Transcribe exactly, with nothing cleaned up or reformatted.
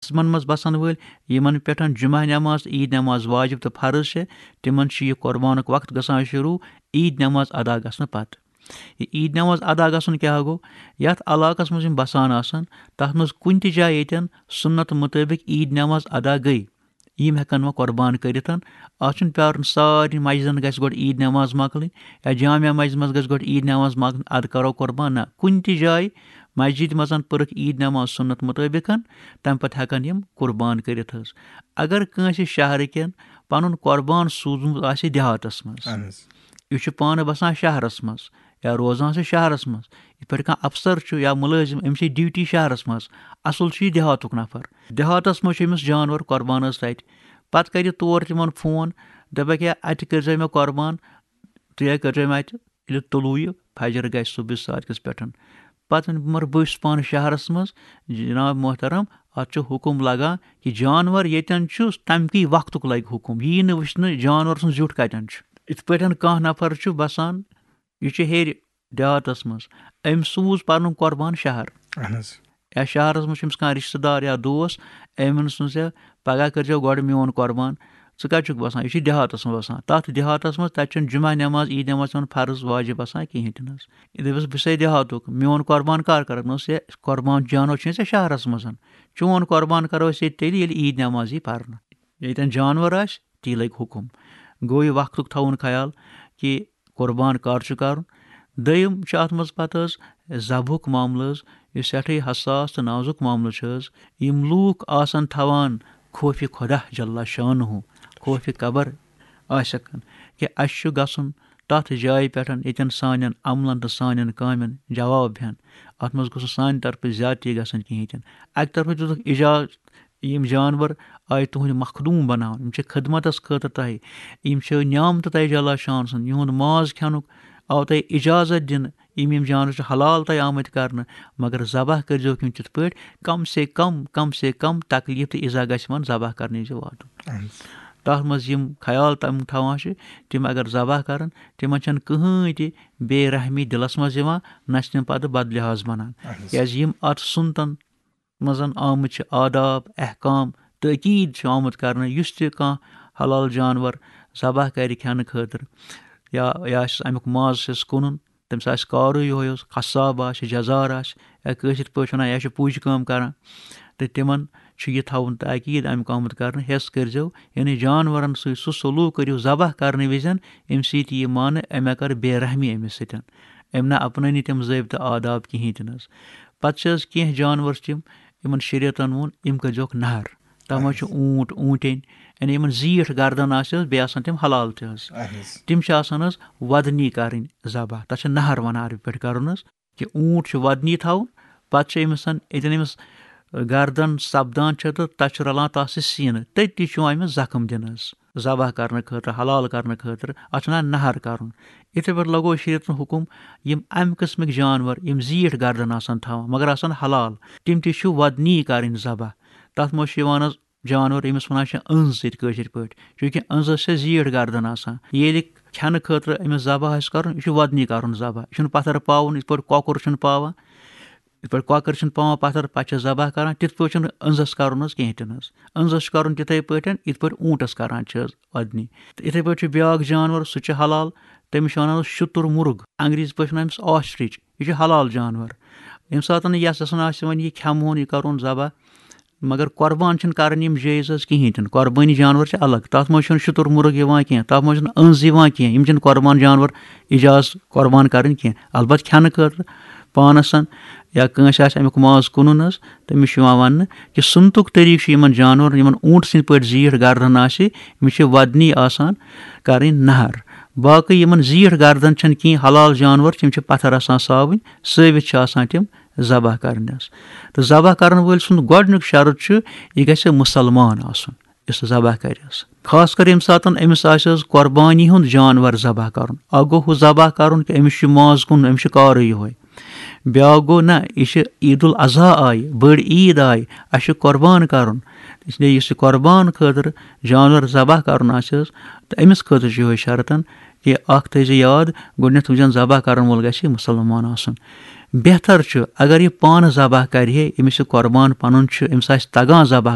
قسمن منٛز بسن وٲلۍ، یِمن پٮ۪ٹھ جمعہ نماز تہٕ عیٖد نماز واجب تہٕ فرض چھِ، تِمن چھُ یہِ قربانُک وقت گژھان شروع عیٖد نماز ادا گژھنہٕ پتہٕ۔ یہِ عیٖد نماز ادا گژھُن کیٛاہ گوٚو؟ یتھ علاقس منٛز یِم بسان آسن، تتھ منٛز کُنہِ تہِ جایہِ ییٚتٮ۪ن سُنت مطٲبق عیٖد نماز ادا گٔے، یِم ہٮ۪کن وۄنۍ قربان کٔرِتھ۔ اتھ چھُنہٕ پیارُن سارنٕے مسجدن گژھِ گۄڈٕ عیٖد نماز مۄکلٕنۍ یا جامع مسجد منٛز گژھِ گۄڈٕ عیٖد نماز مۄکلٕنۍ، ادٕ کرو قربان۔ نہ، کُنہِ تہِ جایہِ مسجد منٛز پٔرٕکھ عیٖد نماز سُنت مطٲبق، تمہِ پتہٕ ہٮ۪کن یِم قربان کٔرِتھ حظ۔ اگر کٲنٛسہِ شہرٕ کٮ۪ن پنُن قربان سوٗزمُت آسہِ دیہاتس منٛز، اہن حظ۔ یہِ چھُ پانہٕ بسان شہرس منٛز یا روزان چھُ شہرس منٛز، یِتھ پٲٹھۍ کانٛہہ افسر چھُ یا مُلٲزِم، أمِس چھِ ڈیوٹی شہرس منٛز، اصل چھُ یہِ دیہاتُک نفر۔ دیہاتس منٛز چھُ أمِس جانور قربان حظ تتہِ۔ پتہٕ کرِ تور تِمن فون، دپکھ، "ہے، اتہِ کٔرۍزیو مےٚ قربان، تُہۍ ہے کٔرۍزیو مےٚ اتہِ، ییٚلہِ طلوع فجر گژھِ صبحس صادقس پٮ۪ٹھ۔" پتہٕ ونہِ، "مگر بہٕ چھُس پانہٕ شہرس منٛز، جناب محترم، اتھ چھُ حکم لگان کہِ جانور ییٚتٮ۪ن چھُ، تمہِ کہِ وقتُک لگہِ حکم، یی نہٕ وٕچھنہٕ جانور سُنٛد زیُٹھ کتٮ۪ن چھُ۔" یِتھ پٲٹھۍ کانٛہہ نفر چھُ بسان، یہِ چھُ ہیٚرِ دیہاتس منٛز، أمۍ سوٗز پنُن قربان شہر۔ اہن حظ۔ یا شہرس منٛز چھُ أمِس کانٛہہ رشتہٕ دار یا دوس، أمۍ ووٚنُس، "ہے، پگاہ کٔرۍزیو گۄڈٕ میون قربان، ژٕ کتہِ چھُکھ بسان؟" یہِ چھُ دیہاتس منٛز بسان۔ تتھ دیہاتس منٛز، تتہِ چھُنہٕ جمعہ نماز، عیٖد نماز تِمن فرض واجب آسان کِہینۍ تہِ نہٕ حظ۔ یہِ دٔپِس، "بہٕ چھُسے دیہاتُک، میون قربان کر کرکھ؟" نہ حظ، یہِ قربان جانور چھُے ژےٚ شہرس منٛز، چون قربان کرو أسۍ ییٚتہِ تیٚلہِ، ییٚلہِ عیٖد نماز یی پرنہٕ۔ ییٚتٮ۪ن جانور آسہِ، تی لگہِ حکم۔ گوٚو یہِ وقتُک تھاوُن خیال کہِ قربان کر چھُ کرُن۔ دوٚیِم چھُ اتھ منٛز پتہٕ حظ ذبحُک معاملہٕ حظ، یُس سٮ۪ٹھٕے حساس تہٕ نازُک معاملہٕ چھُ حظ۔ یِم لوٗکھ آسن تھاوان خوفِ خدا جل شانہ، خوفِ قبر آسٮ۪کھ کہِ اسہِ چھُ گژھُن تتھ جایہِ پٮ۪ٹھ، ییٚتٮ۪ن سانٮ۪ن عملن تہٕ سانٮ۪ن کامٮ۪ن جواب ہٮ۪ن۔ اتھ منٛز گوٚژھ نہٕ سانہِ طرفہٕ زیادتی گژھٕنۍ کِہینۍ تہِ نہٕ۔ اکہِ طرفہٕ دِتُکھ اجازت، یِم جانور آیہِ تُہنٛدِ مخدوٗم بناونہٕ، یِم چھِ خدمتس خٲطرٕ تۄہہِ، یِم چھِ نعمتہٕ تۄہہِ جل شان سُنٛد، یِہُنٛد ماز کھٮ۪نُک آو تۄہہِ اجازت دِنہٕ، یِم یِم جانور چھِ حلال تۄہہِ آمٕتۍ کرنہٕ، مگر ذبح کٔرۍزیوکھ یِم تِتھ پٲٹھۍ، کم سے کم، کم سے کم تکلیف تہٕ ایزا گژھِ یِمن ذبح کرنہٕ وِزِ واتُن۔ اہن حظ۔ تتھ منٛز یِم خیال تِم تھاوان چھِ، تِم اگر ذبح کرن، تِمن چھنہٕ کٕہٕنۍ تہِ بے رحمی دِلس منٛز یِوان، نہ چھِ تِم پتہٕ بد لحاظ بنان۔ اہن حظ۔ کیازِ یِم اتھ سُنتن منٛز آمٕتۍ چھِ آداب، احکام، تٲکیٖد چھِ آمُت کرنہٕ، یُس تہِ کانٛہہ حلال جانور ذبح کرِ کھٮ۪نہٕ خٲطرٕ، یا، یا آسٮ۪س امیُک ماز چھُس کٕنُن، تٔمِس آسہِ کارٕے یِہوٚے یوت، قصاب آسہِ، جزار آسہِ، یا کٲشِر پٲٹھۍ وَنان، یا چھُ پُج کٲم کران، تہٕ تِمن چھُ یہِ تھاوُن تاکیٖد امیُک آمُت کرنہٕ، حٮ۪س کٔرۍزیو، یعنی جانورن سۭتۍ سُہ سلوٗک کٔرِو، ذبح کرنہٕ وِزٮ۪ن، اَمہِ سۭتۍ یہِ مانہٕ، أمۍ کٔر بے رحمی أمِس سۭتۍ، أمۍ نہ اپنٲونی تِم ضٲبطہٕ آداب کِہیٖنۍ تہِ نہٕ حظ۔ پتہٕ چھِ حظ کینٛہہ جانور چھِ تِم، یِمن شریعتن ووٚن، یِم کٔرۍزیوکھ نہر۔ تتھ منٛز چھُ اوٗنٹ، اوٗنٹِنۍ، یعنی یِمن زیٖٹھ گردن آسہِ حظ، بیٚیہِ آسن تِم حلال تہِ حظ۔ اہن حظ۔ تِم چھِ آسان حظ وۄدنی کرٕنۍ ذبح، تتھ چھِ نہر ونان عربی پٲٹھۍ کرُن حظ، کہِ اوٗنٹ چھُ وۄدنی تھاوُن، پتہٕ چھُ أمِس ییٚتٮ۪ن أمِس گردن سپدان چھِ تہٕ تتھ چھُ رلان تتھ سۭتۍ سیٖنہٕ، تٔتی چھُ یِوان أمِس زخم دِنہٕ حظ، ذبح کرنہٕ خٲطرٕ، حلال کرنہٕ خٲطرٕ، اتھ چھُ ونان نہر کرُن۔ یِتھے پٲٹھۍ لگوو شریعتن حکم، یِم امہِ قٕسمٕکۍ جانور، یِم زیٖٹھ گردن آسن تھاوان، مگر آسن حلال، تِم تہِ چھِ وۄدنی کرٕنۍ ذبح۔ تتھ منٛز چھُ یِوان حظ جانور، ییٚمِس ونان چھِ أنٛز ییٚتہِ کٲشِر پٲٹھۍ، چوٗنٛکہِ أنٛزس چھِ زیٖٹھ گردن آسان۔ ییٚلہِ کھٮ۪نہٕ خٲطرٕ أمِس ذبح آسہِ کرُن، یہِ چھُ وۄدنی کرُن ذبح، یہِ چھُنہٕ پتھر پاوُن، یِتھ پٲٹھۍ کۄکُر چھُنہٕ پاوان۔ یِتھ پٲٹھۍ کۄکر چھِنہٕ پاوان پتھر، پتہٕ چھِ ذبح کران، تِتھ پٲٹھۍ چھُنہٕ أنٛزس کرُن حظ کِہینۍ تہِ نہٕ حظ۔ أنٛزس چھُ کرُن تِتھے پٲٹھۍ، یِتھ پٲٹھۍ اوٗنٹس کران چھِ حظ وۄدنی۔ تہٕ یِتھے پٲٹھۍ چھُ بیٛاکھ جانور، سُہ چھُ حلال، تٔمِس چھِ ونان حظ شُتُر مرغ، انگریزی پٲٹھۍ چھِ ونان أمِس ostrich، یہِ چھُ حلال جانور۔ ییٚمہِ ساتہٕ نہٕ یَس یَسن آسہِ وۄنۍ یہِ کھٮ۪مہٕ ہون، یہِ کرون ذبح، مگر قربان چھِنہٕ کرٕنۍ یِم جٲیز حظ کِہینۍ تہِ نہٕ۔ قربٲنی جانور چھِ الگ، تَتھ منٛز چھُنہٕ شُتُر مرغ یِوان کینٛہہ، تَتھ منٛز چھُنہٕ أنٛز یِوان کینٛہہ، یِم چھِنہٕ قربان جانور اجاز قربان کرٕنۍ کینٛہہ۔ البتہ کھٮ۪نہٕ خٲطرٕ پانس یا کٲنٛسہِ آسہِ اَمیُک ماز کٕنُن حظ، تٔمِس چھُ یِوان وننہٕ کہِ سُنتُک طریٖقہٕ چھُ یِمن جانورن، یِمن اوٗنٹ سٕنٛدۍ پٲٹھۍ زیٖٹھ گردن آسہِ، أمِس چھِ وۄدنی آسان کرٕنۍ نہر۔ باقٕے یِمن زیٖٹھ گردن چھنہٕ کینٛہہ، حلال جانور چھِ، یِم چھِ پتھر آسان ساوٕنۍ، سٲوِتھ چھِ آسان تِم ذبح کرنس۔ تہٕ ذبح کرن وٲلۍ سُنٛد گۄڈٕنیُک شرط چھُ، یہِ گژھِ مُسلمان آسُن یُس ذبح کرِ حظ۔ خاص کر ییٚمہِ ساتہٕ أمِس آسہِ حظ قۄربانی ہُنٛد جانور ذبح کرُن، اکھ گوٚو ہُہ ذبح کرُن کہِ أمِس چھُ ماز کٕنُن، أمِس چھُ کارٕے یِہوٚے۔ بیٛاکھ گوٚو، نہ، یہِ چھِ عید الاضحیٰ آیہِ، بٔڑ عید آیہِ، اَسہِ چھُ قۄربان کرُن۔ اس لیے یُس یہِ قۄربان خٲطرٕ جانور ذبح کرُن آسہِ حظ، تہٕ أمِس خٲطرٕ چھُ یِہوٚے شرطن کہِ اکھ تھٲیزِ یاد، گۄڈٕنٮ۪تھ وٕچھزٮ۪ن ذبح کرن وول گژھِ مُسلمان آسُن۔ بہتر چھُ اگر یہِ پانہٕ ذبح کرِ ہے، أمِس یہِ قۄربان پنُن چھُ، أمِس آسہِ تگان ذبح